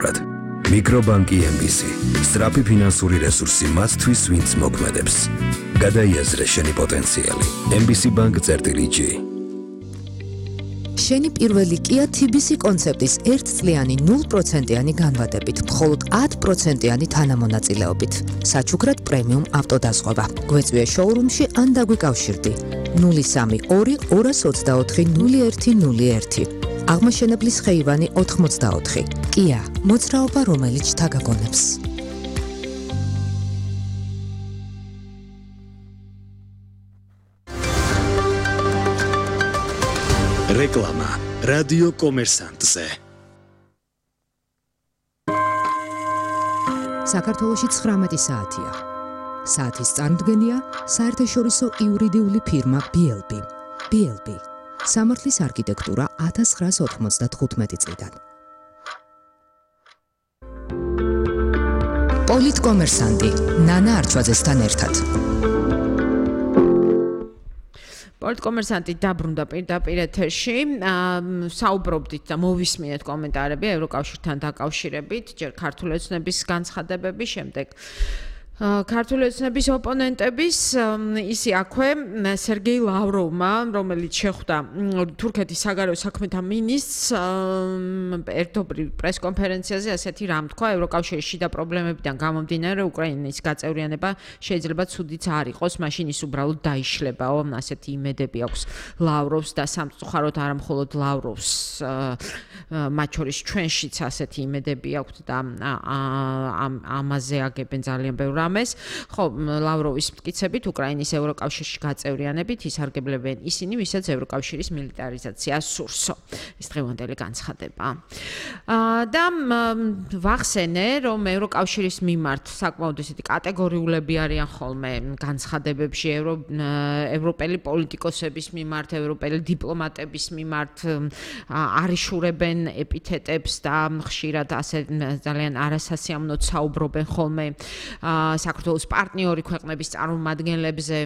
მიკრობანკი MBC. სწრაფი ფინანსური რესურსი მათთვის, ვინც მოქმედებს. გადაიაზრე შენი პოტენციალი. MBC Bank-G. შენი პირველი Kia TBC კონცეპტის 1 წლიანი 0%-იანი განვადებით, მხოლოდ 10%-იანი თანამონაწილეობით. საჩუქრად პრემიუმ ავტოდაზღვევა. გვეწვია შოურუმში ან დაგვიკავშირდი. 032 224 0101. აღმაშენებლის ხეივანი 84. Kia, მოძრაობა რომელიც თაგაგონებს. რეკლამა რადიო კომერსანტზე. საქართველოში 19 საათია. საათის წარმოდგენია საერთაშორისო იურიდიული ფირმა BLB. BLB. სამართლის არქიტექტურა 1995 წლიდან. პოლიტკომერსანტი ნანა არჩვაძესთან ერთად. პოლიტკომერსანტი დაბრუნდა პირდაპირ ეთერში. საუბრობდით და მოვისმინეთ კომენტარები ევროკავშირთან დაკავშირებით, ჯერ ქართული ოცნების განცხადებები, შემდეგ ქართული ოცნების ოპონენტების ისი აქვე სერგეი ლავროვმა, რომელიც შეხვდა თურქეთის საგარეო საქმეთა მინისტრს ერთობრივ პრესკონფერენციაზე ასეთი რამ თქვა: ევროკავშირის შიდა პრობლემებიდან გამომდინარე უკრაინის გაწევრიანება შეიძლება ცუდიც არ იყოს, მაშინ ის უბრალოდ დაიშლებაო. ასეთი იმედები აქვს ლავროვს და სამწუხაროდ არა მხოლოდ ლავროვს, მათ შორის ჩვენშიც ასეთი იმედები აქვს და ამაზე აგებენ ძალიან ბევრ ხო, ლავროვის მტკიცებით უკრაინის ევროკავშირში გაწევრიანებით ისარგებლებენ ისინი, ვისაც ევროკავშირის მილიტარიზაცია სურსო. ეს დღევანდელი განცხადება. და ვახსენე, რომ ევროკავშირის მიმართ საკმაოდ ესეთი კატეგორიულები არიან ხოლმე განცხადებებში ევროპელი პოლიტიკოსების მიმართ, ევროპელი დიპლომატების მიმართ არიშურებენ ეპითეტებს და ხშირად ასე ძალიან არასასიამოვნოდ საუბრობენ ხოლმე საქართველოს პარტნიორი ქვეყნების წარმომადგენლებზე,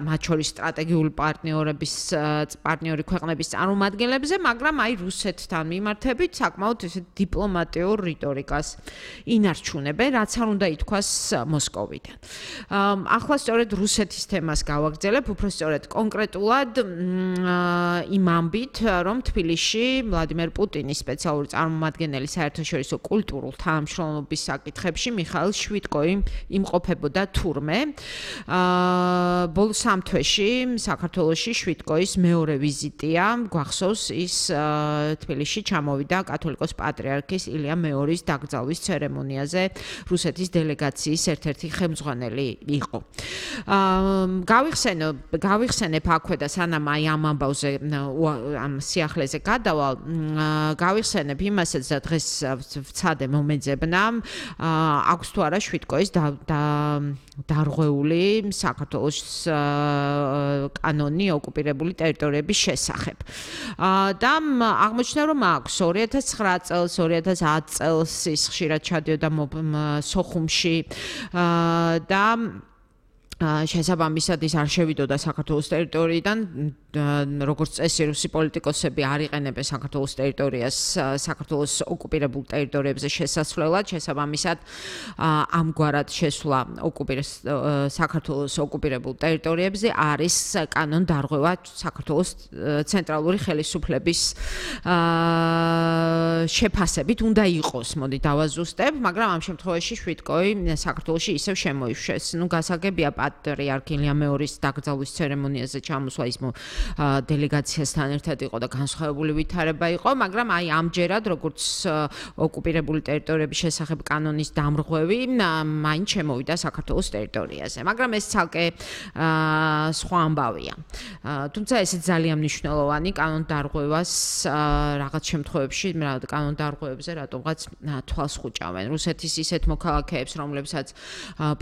მათ შორის სტრატეგიული პარტნიორი ქვეყნების წარმომადგენლებზე, მაგრამ აი რუსეთთან მიმართებით საკმაოდ ესეთ დიპლომატიურ რიტორიკას ინარჩუნებენ, რაც არ უნდა ითქვას მოსკოვიდან. ახლა სწორედ რუსეთის თემას გავაგრძელებ, უფრო სწორედ კონკრეტულად იმ ამბით, რომ თბილისში ვლადიმერ პუტინის სპეციალური წარმომადგენელი საერთაშორისო კულტურულ თანამშრომლობის საკითხებში მიხაილ შვიტკოი იმყოფებოდა თურმე. ბოლო 3 თვეში საქართველოში შვიტკოის მეორე ვიზიტია. გვახსოვს, ის თბილისში ჩამოვიდა კათოლიკოს პატრიარქის ილია მეორის დაკრძალვის ცერემონიაზე, რუსეთის დელეგაციის ერთ-ერთი ხელმძღვანელი იყო. გავიხსენებ აქვე და სანამ აი ამ ამბავზე ამ სიახლეზე გადავალ, გავიხსენებ იმასაც და დღეს ვცადე მომეძებნა, აქვს თუ არა შვიტკოის დარღვეული საქართველოს კანონი ოკუპირებული ტერიტორიების შესახებ. და აღმოჩნდა, რომ აქვს 2009 წელს, 2010 წელს ის ხშირად ჩადიოდა სოხუმში და შესაბამისად ის არ შევიდოდა საქართველოს ტერიტორიიდან, როგორც წესი რუსი პოლიტიკოსები არ იყენებენ საქართველოს ტერიტორიას საქართველოს ოკუპირებულ ტერიტორიებზე შესასვლელად, შესაბამისად ამგვარად შესვლა საქართველოს ოკუპირებულ ტერიტორიებზე არის კანონდარღვევა საქართველოს ცენტრალური ხელისუფლების შეფასებით უნდა იყოს, მოდი დავაზუსტებ, მაგრამ ამ შემთხვევაში შვიტკოი საქართველოში ისევ შემოიშვეს. გასაგებია პატრიარქ ილია მეორის დაკრძალვის ცერემონიაზე ჩამოსვლა ის დელეგაციასთან ერთად იყო და განსხვავებული ვითარება იყო, მაგრამ აი ამჯერად როგორც ოკუპირებული ტერიტორიების შესახებ კანონის დამრღვევი მაინც შემოვიდა საქართველოს ტერიტორიაზე, მაგრამ ეს ცალკე სხვა ამბავია. თუმცა ესეც ძალიან მნიშვნელოვანი კანონდარღვევას რაღაც შემთხვევებში კანონდარღვევებზე რატომღაც თვალს ხუჭავენ. რუსეთის ისეთ მოქალაქეებს, რომლებსაც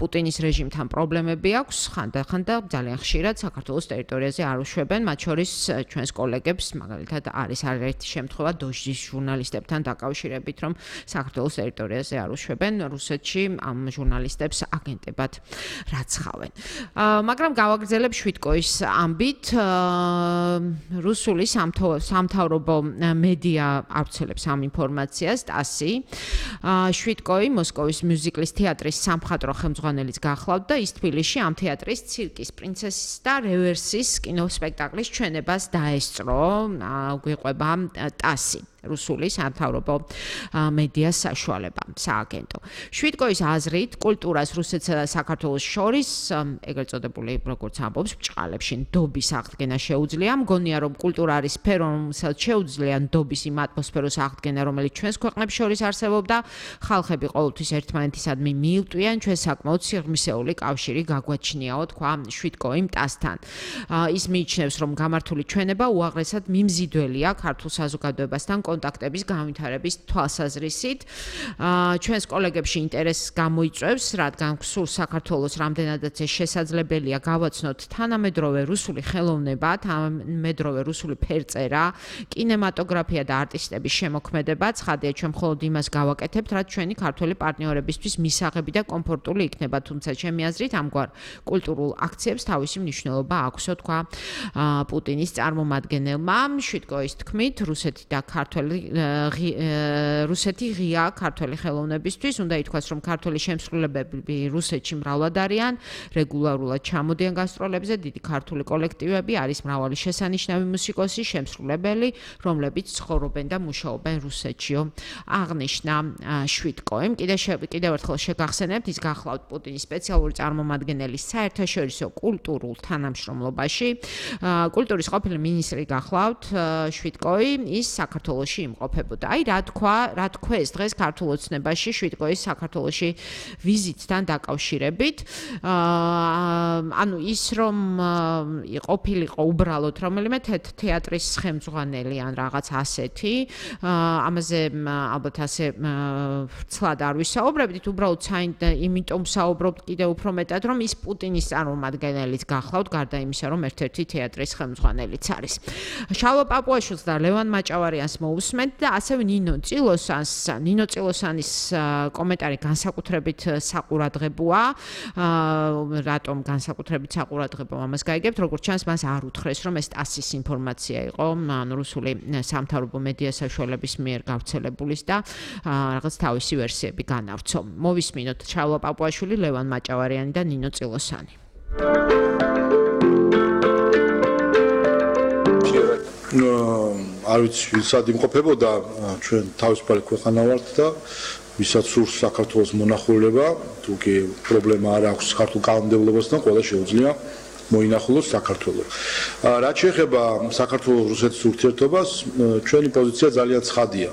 პუტინის რეჟიმთან პრობლემები აქვს, ხანდახან და ძალიან ხშირად საქართველოს ტერიტორიაზე არ უშვებენ, მათ შორის ჩვენს კოლეგებს, მაგალითად არის არაერთი შემთხვევა დოჟის ჟურნალისტებთან დაკავშირებით, რომ საქართველოს ტერიტორიაზე არ უშვებენ, რუსეთში ამ ჟურნალისტებს აგენტებად რაცხავენ. მაგრამ გავაგრძელებ შვიდკოის ამბით, რუსული სამთავრობო მედია ავრცელებს ამ ინფორმაციას, TASS-ი. შვიდკოი მოსკოვის მიუზიკლის თეატრის სამხატვრო ხელმძღვანელიც გახლავთ და ის თბილისში ამ თეატრის ცირკის პრინცესის და რევერსის კინოსპექტაკლის ჩვენებას დაესწრო, გვიყვება TASS-ი. რუსული სამთავრობო მედია საშუალება, სააგენტო. შვიდკოის აზრით, კულტურას რუსეთსა და საქართველოს შორის, ეგრეთ წოდებული, როგორც ამბობს, ბჭყალებში ნდობის აღდგენა შეუძლია. მგონია, რომ კულტურა არის სფერო, რომელსაც შეუძლია ნდობის იმ ატმოსფეროს აღდგენა, რომელიც ჩვენს ქვეყნებს შორის არსებობდა. ხალხები ყოველთვის ერთმანეთისადმი მიუტვიან, ჩვენ საკმაოდ სიღრმისეული კავშირი გაგვაჩნიაო, თქვა შვიდკოიმ TASS-თან. ის მიიჩნევს, რომ გამართული ჩვენება უაღრესად მიმზიდველია ქართულ საზოგადოებასთან კონტაქტების განვითარების თვალსაზრისით. ჩვენს კოლეგებში ინტერესს გამოიწვევს, რადგან სულ საქართველოს რამდენადაც შესაძლებელია გავაცნოთ თანამედროვე რუსული ხელოვნება, თანამედროვე რუსული ფერწერა, კინემატოგრაფია და არტისტების შემოქმედება. ცხადია, ჩვენ მხოლოდ იმას გავაკეთებთ, რაც ჩვენი ქართველი პარტნიორებისთვის მისაღები და კომფორტული იქნება, თუმცა ჩემი აზრით, ამგვარ კულტურულ აქციებს თავისი მნიშვნელობა აქვსო, თქვა პუტინის წარმომადგენელმა. შვიდკოის თქმით, რუსეთი და რუსეთი ღია ქართველი ხელოვნებისთვის, უნდა ითქვას, რომ ქართველი შემსრულებლები რუსეთში მრავლად არიან, რეგულარულად ჩამოდიან გასტროლებზე, დიდი ქართული კოლექტივები, არის მრავალი შესანიშნავი მუსიკოსი, შემსრულებელი, რომლებიც ცხოვრობენ და მუშაობენ რუსეთშიო. აღნიშნა შვიდკოიმ. კიდევ ერთხელ შეგახსენებთ, ის გახლავთ პუტინის სპეციალური წარმომადგენელი საერთაშორისო კულტურულ თანამშრომლობაში. კულტურის ყოფილი მინისტრი გახლავთ შვიდკოი, ის საქართველოში იმყოფებოდა. აი რა თქვეს დღეს ქართულ ოცნებაში შვიდკოის საქართველოში ვიზიტთან დაკავშირებით. ანუ ის რომ ყოფილიყო უბრალოდ რომელიმე თეატრის ხელმძღვანელი ან რაღაც ასეთი, ამაზე ალბათ ასე ცლად არ ვისაუბრებდით, უბრალოდ იმიტომ საუბრობთ კიდევ უფრო მეტად, რომ ის პუტინის წარმომადგენელიც გახლავთ, გარდა იმისა, რომ ერთ-ერთი თეატრის ხელმძღვანელიც არის. შალვა პაპუაშვილს და ლევან მაჭავარიანს მოусმენთ და ასევე ნინო წილოსანის კომენტარი განსაკუთრებით საყურადღებოა. რატომ განსაკუთრებით საყურადღებოა, ამას გაიგებთ, როგორც ჩანს, მას არ უთხრეს, რომ ეს TASS-ის ინფორმაცია იყო, რუსული სამთავრობო მედია საშუალების მიერ გავრცელებულის და რაღაც თავისი ვერსიები განავრცო. მოვისმინოთ შალვა პაპუაშვილი, ლევან მაჭავარიანი და ნინო წილოსანი. არ ვიცი, ვისაც იმყოფებოდა, ჩვენ თავისუფალი ქვეყანა ვართ და ვისაც სურს საქართველოს მონახულება, თუ კი პრობლემა არ აქვს ქართულ კანონმდებლობასთან, ყველა შეუძლია მოინახულოს საქართველოს. რაც შეეხება საქართველოს-რუსეთის ურთიერთობას, ჩვენი პოზიცია ძალიან ცხადია.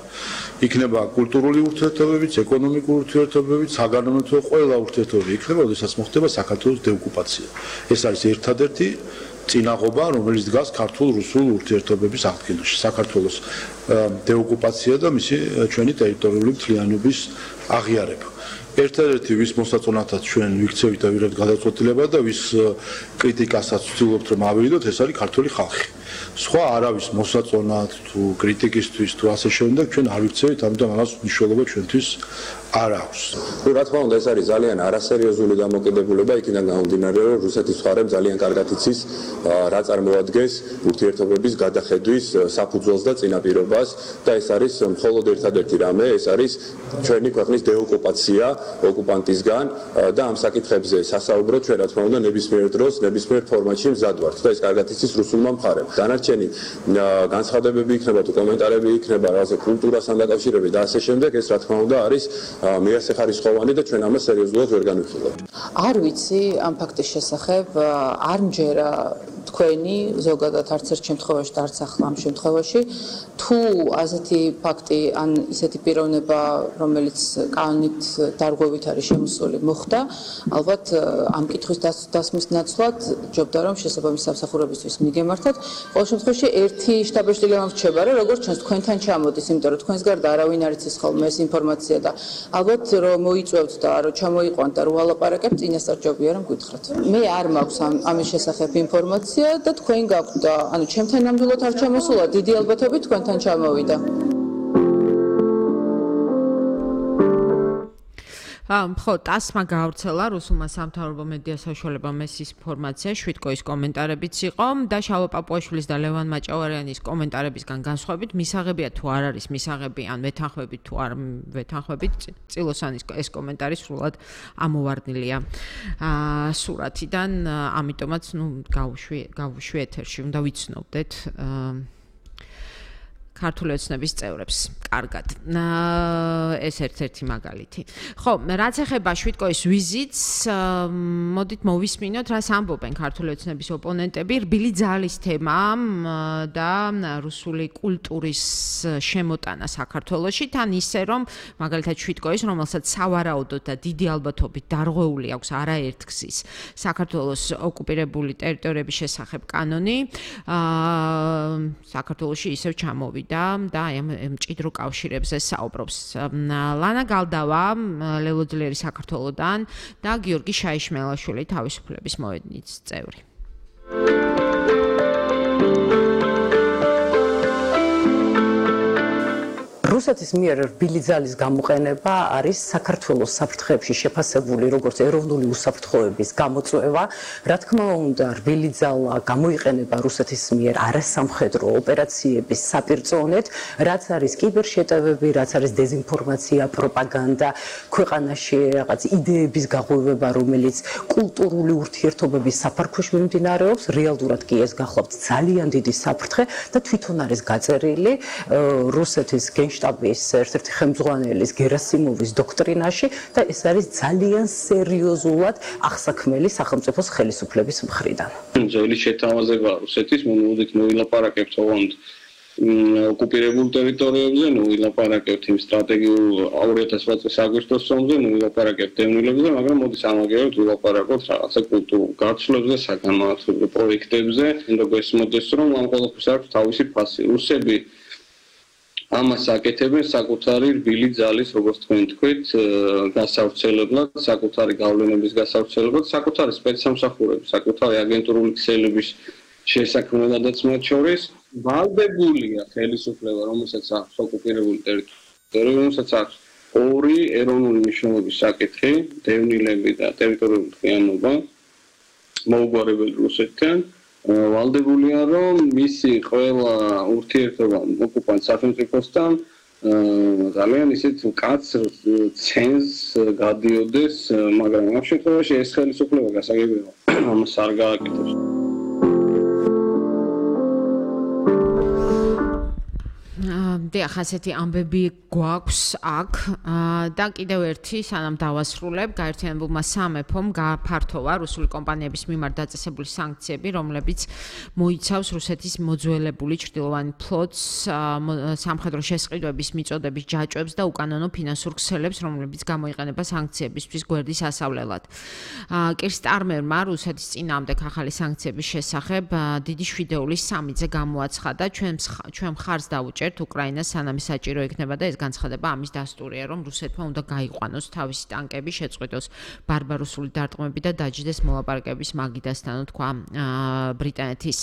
იქნება კულტურული ურთიერთობებიც, ეკონომიკური ურთიერთობებიც, საგანმანათლებლო ყველა ურთიერთობები იქნება, როდესაც მოხდება საქართველოს დეოკუპაცია. ეს არის ერთადერთი წინაღობა, რომელიც დგას ქართულ-რუსულ ურთიერთობების აღდგენაში. საქართველოს დეოკუპაცია და მისი ჩვენი ტერიტორიული მთლიანობის აღიარება. ერთადერთი ვის მოსაწონათაც ჩვენ ვიქცევით და ვიღებთ გადაწყვეტილება და ვის კრიტიკასაც ვცდილობთ რომ ავიდოთ, ეს არის ქართული ხალხი. სხვა არავის მოსაწონად თუ კრიტიკისთვის თუ ასე შემდეგ ჩვენ არ ვიქცევით, ამიტომ ამას მნიშვნელობა ჩვენთვის არ აქვს. რა თქმა უნდა, ეს არის ძალიან არასერიოზული დამოკიდებულება, იქიდან გამომდინარე, რომ რუსეთის მხარემ ძალიან კარგად იცის, რა წარმოადგენს ურთიერთობების გადახედვის საფუძველს და წინაპირობას და ეს არის მხოლოდ ერთადერთი რამე, ეს არის ჩვენი ქვეყნის დეოკუპაცია ოკუპანტისგან და ამ საკითხებზე სასაუბროთ ჩვენ რა თქმა უნდა ნებისმიერ დროს, ნებისმიერ ფორმატში მზად ვართ და ეს კარგად იცის რუსულმა მხარემ. დანარჩენი განცხადებები იქნება თუ კომენტარები იქნება რაღაცა კულტურასთან დაკავშირებით და ასე შემდეგ, ეს რა თქმა უნდა არის მიასახარისხოვანი და ჩვენ ამას სერიოზულად ვერ განვიხილავთ. არ ვიცი ამ ფაქტის შესახებ, არ მჯერა თქვენი ზოგადად არც ერთ შემთხვევაში და არც ახლა ამ შემთხვევაში თუ ასეთი ფაქტი ან ისეთი პიროვნება რომელიც კანონით დარღვევით არის შემოსული მოხდა ალბათ ამ კითხვის დასმის ნაცვლად ჯობდა რომ შესაბამის სამსახურებისთვის მიგემართოთ ყოველ შემთხვევაში ერთი შტაბ-ეშტილება მრჩება რა როგორც ჩვენს თქვენთან ჩამოდის იმიტომ რომ თქვენს გარდა არავინ არ იცის ხოლმე ეს ინფორმაცია და ალბათ რომ მოიწვევთ და რომ ჩამოიყვანთ და რომ ვალაპარაკებთ წინასწარ ჯობია რომ გითხრათ მე არ მაქვს ამის შესახებ ინფორმაცია და თქვენ გაქვთ და ანუ ჩემთან ნამდვილად არ ჩამოსულა დიდი ალბათობით თქვენთან ჩამოვიდა ხო, ტასმა გავრცელა რუსულმა სამთავრობო მედია საშუალებამ ეს ინფორმაცია შვიდკოის კომენტარებიც იყო და შალვა პაპუაშვილის და ლევან მაჭავარიანის კომენტარებისგან განსხვავებით მისაღებია თუ არ არის მისაღები ან ვეთანხმებით თუ არ ვეთანხმებით წილოსანის ეს კომენტარი სრულად ამოვარდნილია სურათიდან ამიტომაც გავუშვი ეთერში უნდა ვიცნობდეთ ქართული ოცნების წევრებს. კარგად. ეს ერთ-ერთი მაგალითი. ხო, რაც ეხება შვიდკოის ვიზიტს, მოდით მოვისმინოთ, რას ამბობენ ქართული ოცნების ოპონენტები, რბილი ძალის თემა და რუსული კულტურის შემოტანა საქართველოში, თან ისე რომ მაგალითად შვიდკოის, რომელსაც სავარაუდოდ და დიდი ალბათობით დარღვეული აქვს არაერთგზის საქართველოს ოკუპირებული ტერიტორიების შესახებ კანონი, საქართველოში ისევ ჩამოვიდა და აი ამ მჭიდრო კავშირებზე საუბრობს ლანა გალდავა ლელოძლიერი საქართველოდან და გიორგი შაიშმელაშვილი თავისუფლების მოედნის წევრი რუსეთის მიერ რბილი ძალის გამოყენება არის საქართველოს საფრთხეებში შეფასებული როგორც ეროვნული უსაფრთხოების გამოწვევა. რა თქმა უნდა, რბილი ძალა გამოიყენება რუსეთის მიერ არასამხედრო ოპერაციების საპირწონედ, რაც არის კიბერშეტევები, რაც არის დეზინფორმაცია, პროპაგანდა, ქვეყანაში რაღაც იდეების გაღვივება, რომელიც კულტურული ურთიერთობების საფარქვეში მიმდინარეობს, რეალურად კი ეს გახლავთ ძალიან დიდი საფრთხე და თვითონ არის გაწერილი რუსეთის შტაბის ერთ-ერთი ხელმძღვანელის გერასიმოვის დოქტრინაში და ეს არის ძალიან სერიოზულად აღსაქმელი სახელმწიფოს ხელისუფლების მხრიდან. ძველი შეთავაზება რუსეთის მომოდით მოილაპარაკებთ ოღონდ ოკუპირებულ ტერიტორიებზე, ვილაპარაკებთ იმ სტრატეგიულ 2008 წლის აგვისტოს ომზე, ვილაპარაკებთ დევნილებზე, მაგრამ მოდის ამაგერად ვილაპარაკოთ რაღაცა კულტურულ გაცვლებზე, საგანმანათლებლო პროექტებზე, როგორც მოდის რომ ამ ყველაფერს აქვს თავისი ფასი. რუსები ამას აკეთებენ საკუთარი რბილი ძალის, როგორც თქვენ თქვით, გასავრცელებლად, საკუთარი გავლენების გასავრცელებლად, საკუთარი სპეცსამსახურების, საკუთარი აგენტურული ქსელების შესაქმნელადაც მათ შორის ვალდებულია ხელისუფლება, რომელსაც აქვს ოკუპირებული ტერიტორია, რომელსაც აქვს ორი ეროვნული მნიშვნელობის საკითხი, დევნილები და ტერიტორიული მთლიანობა, მოუგვარებელი რუსეთთან. ვალდებულია რომ მისი ყველა ურთიერთობა ოკუპანტ სახელმწიფოსთან ძალიან ისეთ მკაცრ ცენზს გადიოდეს, მაგრამ ამ შემთხვევაში ეს ხელისუფლება გასაგებია ამას არ გააკეთებს. დიახ, ასეთი ამბები გვაქვს აქ და კიდევ ერთი სანამ დავასრულებ, გაერთიანებულმა სამეფომ გაფართოვა რუსული კომპანიების მიმართ დაწესებული სანქციები, რომლებიც მოიცავს რუსეთის მოძველებული ჩრდილოვანი ფლოტს, სამხედრო შესყიდვების მიწოდების ჯაჭვებს და უკანონო ფინანსურ ქსელებს, რომლებიც გამოიყენება სანქციებისთვის გვერდის ასავლელად. კირ სტარმერმა რუსეთის წინააღმდეგ ახალი სანქციების შესახებ დიდი შვიდეულის სამიძე გამოაცხადა, ჩვენ მხარს დაუჭერთ უკრაინას სანამ საჭირო იქნება და ეს განცხადება ამის დასტურია, რომ რუსეთმა უნდა გაიყვანოს თავისი ტანკები, შეწყვიტოს ბარბაროსული დარტყმები და დაჯდეს მოლაპარაკების მაგიდასთან, თქვა ბრიტანეთის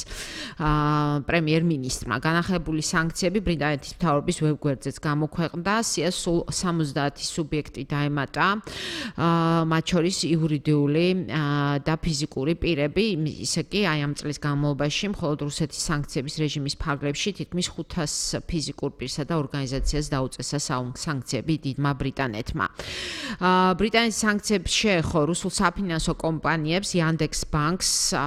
პრემიერ-მინისტრმა. განახილებული სანქციები ბრიტანეთის მთავრობის ვებგვერდზეც გამოქვეყნდა, სიას სულ 70 სუბიექტი დაემატა, მათ შორის იურიდიული და ფიზიკური პირები, ისე კი აი ამ წლის განმავლობაში მხოლოდ რუსეთის სანქციების რეჟიმის ფარგლებში თითქმის 500 ფიზიკურ პირსა და ორგანიზაციას დაუწესა სანქციები დიდმა ბრიტანეთმა. ბრიტანეთის სანქციებს შეეხო რუსულ საფინანსო კომპანიებს, Yandex Banks,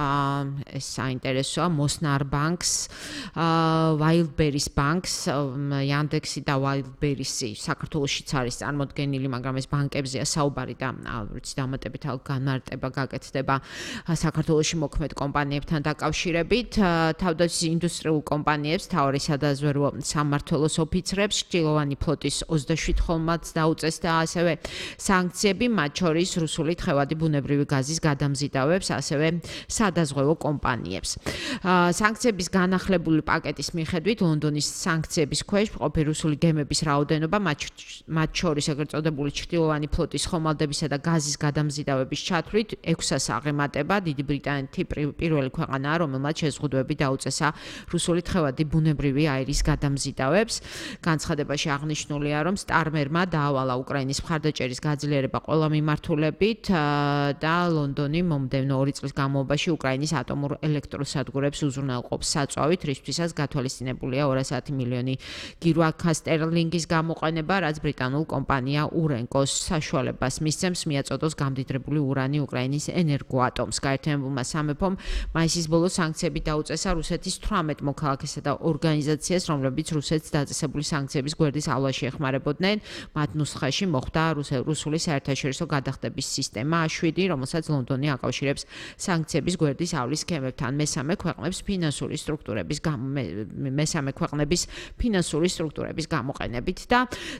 ეს საინტერესოა, Mosnar Banks, Wildberries Banks, Yandex-ი და Wildberries-ი საქართველოშიც არის წარმოდგენილი, მაგრამ ეს ბანკებზეა საუბარი და ვიცი დამატებით განარტება გაკეთდება საქართველოში მოქმედ კომპანიებთან დაკავშირებით. თავდაცვის ინდუსტრიულ კომპანიებს, მთავარი სადაზვერვო სამმართველოს ოფიცრებს, ჭილოვანი ფლოტის 27 ხომალდს დაუწესდა ასევე სანქციები, მათ შორის რუსული თხევადი ბუნებრივი გაზის გადამზიდავებს, ასევე სადაზღვევო კომპანიებს. სანქციების განახლებული პაკეტის მიხედვით ლონდონის სანქციების ქვეშ მყოფი რუსული გემების რაოდენობა, მათ შორის ეგრეთ წოდებული ჭილოვანი ფლოტის ხომალდებისა და გაზის გადამზიდავების ჩათვლით 6-ას აღემატება. დიდი ბრიტანეთი პირველი ქვეყანაა, რომელმაც შეზღუდვები დაუწესა რუსული თხევადი ბუნებრივი აირის გადამზიდავებს. განცხადებაში აღნიშნულია, რომ სტარმერმა დაავალა უკრაინის მხარდაჭერის გაძლიერება ყველა მიმართულებით და ლონდონი მომდევნო 2 წლის განმავლობაში უკრაინის ატომურ ელექტროსადგურებს უზრუნველყოფს საწვავით, რისთვისაც გათვალისწინებულია 200 მილიონი გირვაკა სტერლინგის გამოყენება, რაც ბრიტანულ კომპანია ურენკოს საშუალებას მისცემს მიაწოდოს გამდიდრებული ურანი უკრაინის ენერგოატომს. გაერთიანებულმა სამეფომ მაისის ბოლოს სანქციები დაუწესა რუსეთის 18 მოქალაქესა და ორგანიზაციას, რომლებიც რუსეთს დაწესებული სანქციების გვერდისავლაში ეხმარებოდნენ. მათ ნუსხაში მოხვდა რუსული საერთაშორისო გადახდების სისტემა A7, რომელსაც ლონდონი აკავშირებს სანქციების გვერდის ავლის სქემებთან. მესამე ქვეყნების ფინანსური სტრუქტურების გამოყენებით და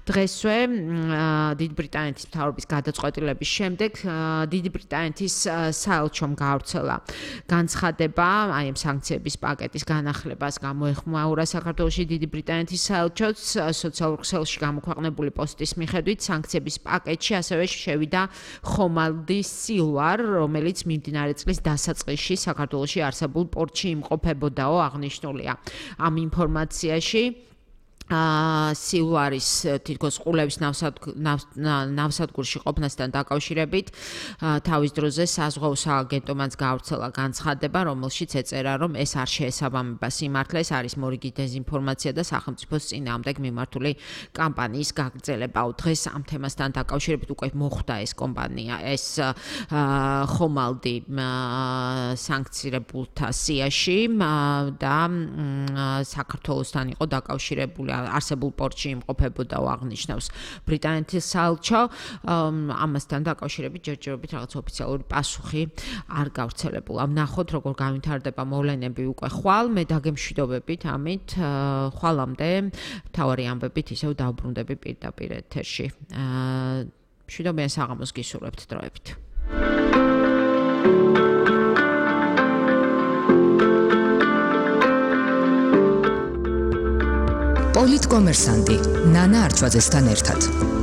დღესვე დიდი ბრიტანეთის მთავრობის გადაწყვეტილების შემდეგ დიდი ბრიტანეთის საელჩომ გაავრცელა განცხადება აი ამ სანქციების პაკეტის განახლებას გამოეხმაურა საქართველოში დიდი ბრიტანეთის საელჩოც სოციალურ ქსელში გამოქვეყნებული პოსტის მიხედვით სანქციების პაკეტში ასევე შევიდა ხომალდი სილვარ, რომელიც მიმდინარე წლის დასაწყისში საქართველოში არსებულ პორტში იმყოფებოდაო, აღნიშნულია ამ ინფორმაციაში. სილვარის თითქოს ყულების ნავსადგურში ყოფნასთან დაკავშირებით თავის დროზე საზღვაო სააგენტომაც გაავრცელა განცხადება, რომელშიც ეწერა, რომ ეს არ შეესაბამება სიმართლეს, არის მორიგი დეზინფორმაცია და სახელმწიფოს წინააღმდეგ მიმართული კამპანიის გაგრძელება. დღეს ამ თემასთან დაკავშირებით უკვე მოხვდა ეს კომპანია, ეს ხომალდი სანქცირებულთა სიაში და საქართველოსთან იყო დაკავშირებული არსებულ პორტში იმყოფებოდა აღნიშნავს ბრიტანეთის საელჩო. ამასთან დაკავშირებით ჯერჯერობით რაღაც ოფიციალური პასუხი არ გავრცელებულა. ვნახოთ როგორ განვითარდება მოვლენები უკვე ხვალ, მე დაგემშვიდობებით ამით, ხვალამდე მთავარი ამბებით ისევ დავბრუნდები პირდაპირ ეთერში. მშვიდობიან საღამოს გისურვებთ დროებით. პოლიტკომერსანტი ნანა არჩვაძესთან ერთად.